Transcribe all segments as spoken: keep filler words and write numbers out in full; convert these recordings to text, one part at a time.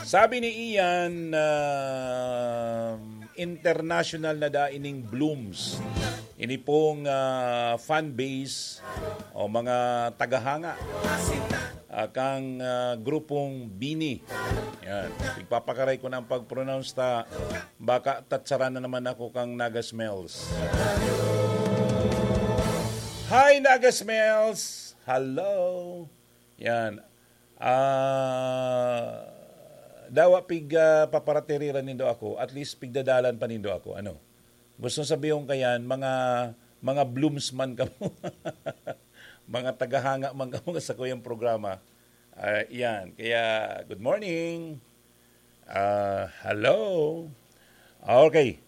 Sabi ni Ian, ah, international na daa ining Blooms. Ini pong, ah, fan base o mga tagahanga, ah, kang, ah, grupong Bini. Yan. Pigpapakaray ko na ang pag-pronounce ta. Baka tatsaran na naman ako kang Naga Smells. Hi, Naga Smells! Hello! Yan. Ah, dawa pig, ah, paparatiriran nindo ako, at least pigdadalan pa nindo ako. Ano? Gusto sabihon kayan, mga, mga Blooms man kamo. Mga tagahanga man kamo sa kuyang programa. Ah, yan. Kaya, good morning. Ah, hello. Okay.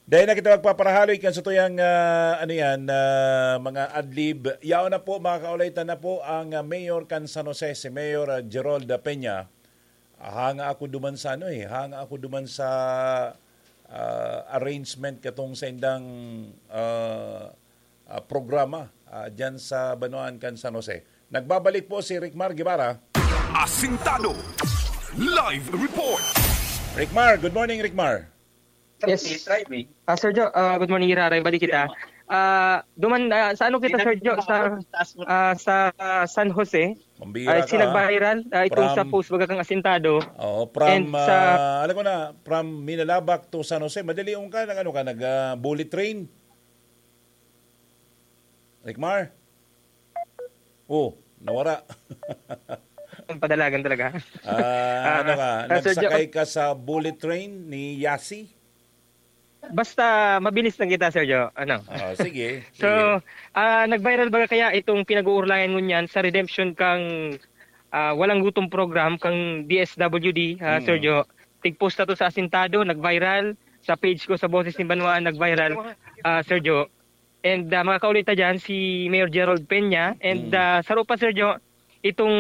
Dahil na kita magpaparahaloy kan sa tuyang, ah, ano yan, ah, mga adlib. Yaon na po, mga kaulay, ta na po ang, ah, mayor kan San Jose, si Mayor, ah, Gerald Peña. Ah, hanga ako duman sa ano eh, hanga ako duman sa, ah, arrangement katong sa indang, ah, ah, programa, ah, dyan sa Banwaan kan San Jose. Nagbabalik po si Rickmar Guevara. Asintado. Live report. Rickmar, good morning, Rickmar. Yes. Ah, Sir Joe, ah, good morning, Iraray. Balik kita. Ah, duman, ah, sa ano kita, Sir Joe? Sa, ah, sa, ah, San Jose. Mambira Ay, ka, ha? Sinag-viral, ah, itong sa From post, baga kang asintado. Oo, from, And sa ah, alam ko na, from Minalabac to San Jose. Madali yung ka, nag-ano ka, nag, ah, bullet train? Rickmar? Oh, nawara. Ang padalagan talaga. Ah, Ah, ano ka? ah, Sir Joe, Nagsakay ka sa bullet train ni Yasi? Basta mabilis lang kita, Sir Joe. Ano? Ah, sige, So, sige. ah, nag-viral baga kaya itong pinag-uurlayan ngunyan sa redemption kang, ah, Walang Gutom program kang D S W D, ah, Sir Mm. Joe. Tig-post na to sa Asintado, nag-viral. Sa page ko, sa Boses ni Banwaan, nag-viral, ah, Sir Joe. And, ah, mga kaulita dyan, si Mayor Gerald Peña. And, Mm. ah, saro pa, Sir Joe, itong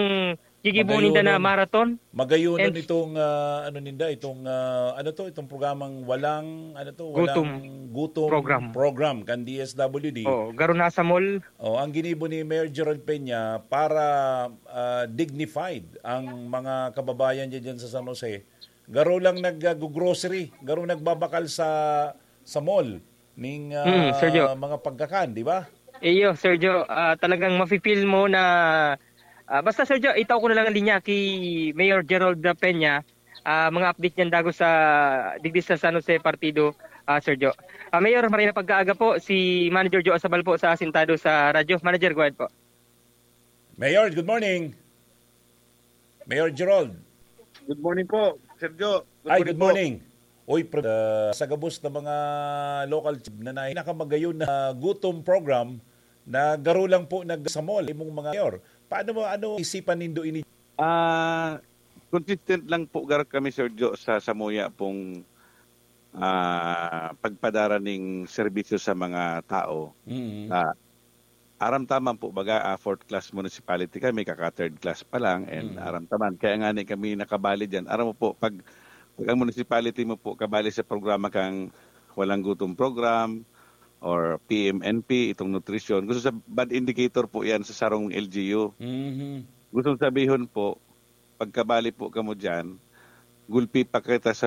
gigibo ninda na Magayonon. marathon. Magayonon And itong, ah, ano ninda, itong, ah, ano to, itong programang walang, ano to, Gutom walang gutom program. program kan D S W D. Oo, garo na sa mall. Oh, ang ginibo ni Mayor Gerald Peña para, ah, dignified ang mga kababayan niya dyan sa San Jose. Garo lang nag-, ah, grocery, garo nagbabakal sa, sa mall ning, Mm, Sir Joe. ah, mga pagkakan, di ba? Iyo, Sir Joe, ah, talagang mafe-feel mo na, ah, basta, Sir Joe, itaw ko na lang ang linya ki Mayor Gerald Peña, ah, mga update niyan dago sa digdi sa San Jose Partido, ah, Sir Joe. Ah, Mayor, maray na pagkaaga po, si Manager Joe Asabal po sa Asintado sa Radyo. Manager, go ahead po. Mayor, good morning. Mayor Gerald. Good morning po, Sir Joe. Good Ay, morning good po. morning. Uy, pre, ah, sa gabos na mga local na, na nakamagayon na gutom program na garo lang po nag-, sa mall, imong mga mayor. Paano mo, ano isipan nindo ini? Ah, consistent lang po gar kami, Sir Joe, sa samuya pong, ah, pagpadara ning serbisyo sa mga tao. Mm. Ah, aram taman po, baga, ah, fourth class municipality kami, kaka third class pa lang, and Mm. aram taman. Kaya nga ni kami nakabali dyan. Aram mo po, pag, pag ang municipality mo po kabali sa programa kang Walang Gutom Program or P M N P, itong nutrition, gusto sa bad indicator po yan sa sarong L G U. Mhm. Gusto sabihon po, pagkabali po kamo dyan, gulpi pa kita sa